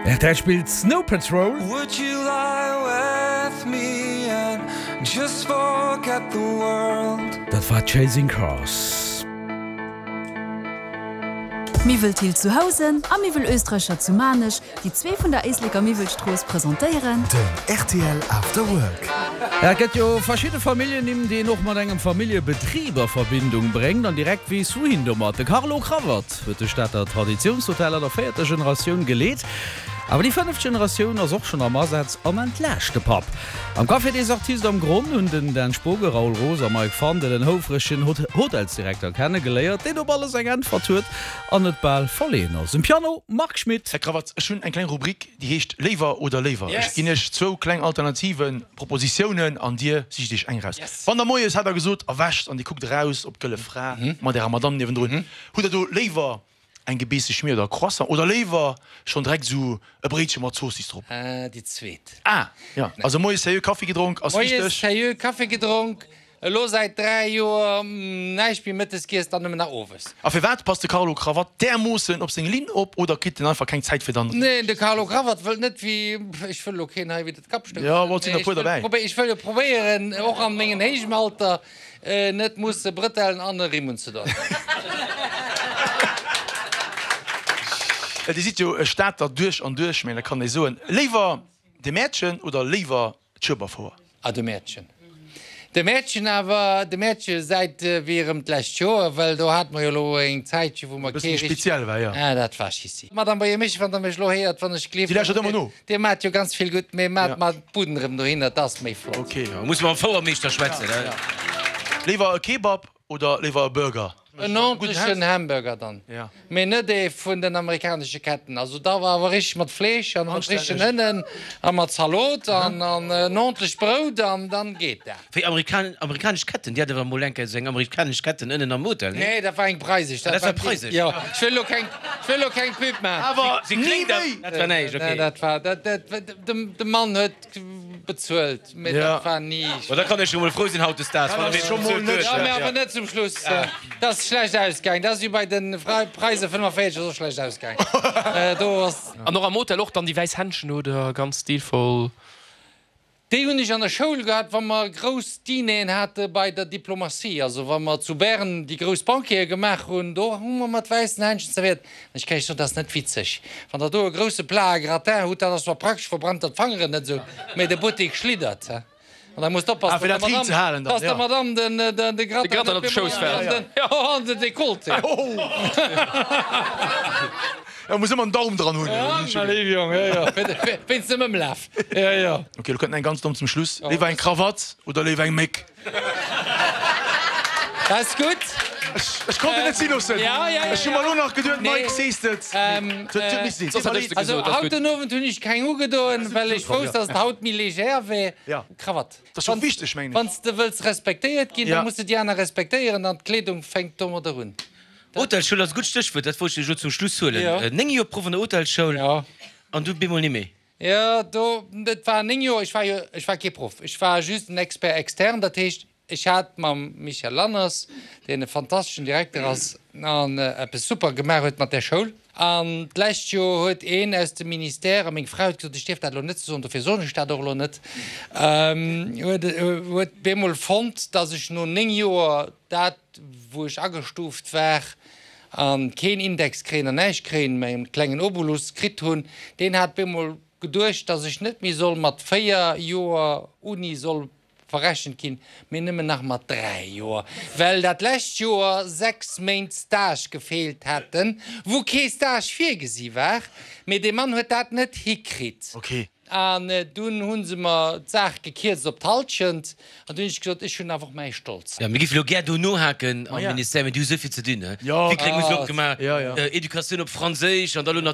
Rtl spillt Snow Patrol. Dat war Chasing Cars. Miwwel Thill zu Housen a Miwwel Österreicher zu Maarnech, déi zwee vun der Éisleker Miwwelstrooss, presentéieren. Den rtl After Work. Et gëtt jo verschidde Familljennimm, déi een och mat engem Familljebetrib a Verbindung bréngt an direkt weess wouhin domat. De Carlo Cravat huet de Stater Traditiounshotel an der véierter Generatioun geleet. Awer déi fënneft Generatioun ass och schonn am Asaz an entlaascht de Papp. Am Café des Artistes am Gronn hunn den Dan Spogen, Raoul Roos a Mike Fandel en houfregen Hotelsdirekter kenne geléiert, deen op alles eng Äntwert huet an net bal verleeën ass. Um Piano Marc Schmitt. Här Kravatz, ech hunn eng kleng Rubrik, déi heescht Léiwer oder léiwer. Ech ginn Iech zwou kleng Alternativen, Propositiounen, an Dir sicht Iech eng eraus. Wann Der moies, hat Der gesot, erwächt an Dir kuckt eraus op d'Gëlle Fra mat Ärer Madamm niewendrun, hutt Der do léiwer Eng gebeesse Schmier oder e Croissant oder léiwer schonn direkt esou e Bréitche mat Zoossiss drop? Déi zweet. Ah, jo. Also moies sérieux Kaffi gedronk ass wichteg. Moies sérieux Kaffi gedronk, elo säit 3 Joer näischt méi mëttes giess, dann nëmmen nach owes. A firwat passt de Carlo Cravat därmoossen op seng Linn op oder kritt en einfach keng Zäit fir dann. Neen, de Carlo Cravat wëllt net wéi, ech wëll elo keen hei widder d'Kap stoussen, Jo, et sinn der puer derbäi. mee ech wëll jo probéieren och an mengen héijem Alter Net musse Brëtellen an e Rimm unzedoen. Dir sidd jo e Stater duerch an duerch, mä da kann ee soen, léiwer de Mäertchen oder léiwer d'Schueberfouer? Ah, de Mäertchen. De Mäertchen awer, de Mäertche säit wéi erëm d'lescht Joer, well do hate mer jo elo eng Zäitche wou mer kee richteg. Speziell war, jo. Ah, dat war schissi. Madame Boyer-Michel, wann Der mech elo héiert, wann ech gleeft. Dir lauschtert ëmmer no. Dir maat jo ganz vill gutt, mee maat mer d'Buden erem dohinner, dat ass méi flott. Ok, muss mam Fouermeeschter schwätzen. Léiwer e Kebab oder léiwer e Burger? En ordentlechen Hamburger dann, mee net ee vun den amerikanesche Ketten. Also da war awer richteg mat Fleesch an mat richtegen Ënnen a mat Zalot an en ordentlecht Brout an dann geet dat. Wéi amerikanesch Ketten? Dir hat awer emol eng Kéier esou eng amerikanesch Ketten ënnen am Hotel, nee? Nee, dat war eng preisesch. Ah, dat war preisesch. Jo, ech wëll elo keng, ech wëll elo keng Pub maachen. Awer ni méi! Dat war näischt, okay. Dat war, dat, dat, de Mann huet bezuelt, mee dat war ni. Ma da kann ech jo mol frou sinn hautdesdaags, wann e scho mol net. Jo, mee awer net zum Schluss. Dat ass schlecht ausgaang. Dat ass wéi bei de Preise 45, ass och schlecht ausgaang. Do ass. An och am Hotel och dann déi wäiss Händschen oder ganz stilvoll. Déi hunn ech an der Schoul gehat, wa mer grouss Dineren hate bei der Diplomatie, also wa mer zu Bern déi grouss Banquete gemaach hunn, do hu mer mat wäissen Händschen zerwéiert. An ech kann Iech soen, dat ass net witzeg, wann Der do e grousse Plat à gratin hutt, dat ass zwar praktesch, verbrennt der d'Fangeren net esou, mä de Buttek schliddert. An da musst oppassen, dass der Madame, dass der Madame den, de Gratin net op de Schouss fält. An den Dekolleté. Jo, muss ëmmer en Daum dran hunn. Ja, léiw Jong, jo, jo, wéinst dem Ëmlaf, jo, jo. Ok, lo kënnt eng ganz domm zum Schluss. Léiwer eng Krawatt oder léiwer eng Méck? Dat ass gutt. Ech konnt et net si loossen. Ja, ja, ja. Ech hu mer elo nach geduet, Mike, sees de et? Et huet misse sinn. Soss hätt ech se Also, gesot, ass haut gutt. den Owend hunn ech keng ugedoen, well ech wousst, dass et haut méi légère wär. Ja. Krawatt. Dat ass jo wichteg, mengen ech. Wann s de wëlls respektéiert ginn, da muss de déi aner respektéieren an d'Kleedung fänkt domadder un. Hotelschoul ass e gutt Stéchwuert, dat wollt ech elo zum Schluss huelen. 9 Joer Proff an der Hotelschoul an du bemol nimméi. Jo, do, et war 9 Joer, ech war jo, ech war kee Proff, ech war just en Expert externe, dat heescht, ech hat mam Michel Lanners, deen e fantasteschen Direkter ass an eppes super gemaach huet mat där Schoul, an d'lescht Joer huet een aus dem Ministère, a meng Fra huet gesot, ech dierf dat elo net soen, dofir soen ech dat och elo net, huet, huet bemol fonnt, datt ech no 9 Joer dat, wou ech agestuuft war a keen Index kréien an näischt kréien, mä en klengen Obolus kritt hunn, deen hat bemol geduecht, dass ech net méi soll mat 4 Joer Uni soll verrechent ginn, mee nëmmen nach mat 3 Joer, well dat lescht Joer 6 Méint Stage gefeelt hätten, wou kee Stage virgesi war. Mee dee Mann huet dat net hikritt. An dunn hu se mer d'Saach gekierzt op d'Halschent. An dunn hunn ech gesot, ech hunn awer och mäi Stolz. Jo, mir géife lo gär do nohaken am Ministère, mee déi hu souvill ze dinn, he. Wickreng hu se opgemaach, Educatioun op Franséisch an da lo nach.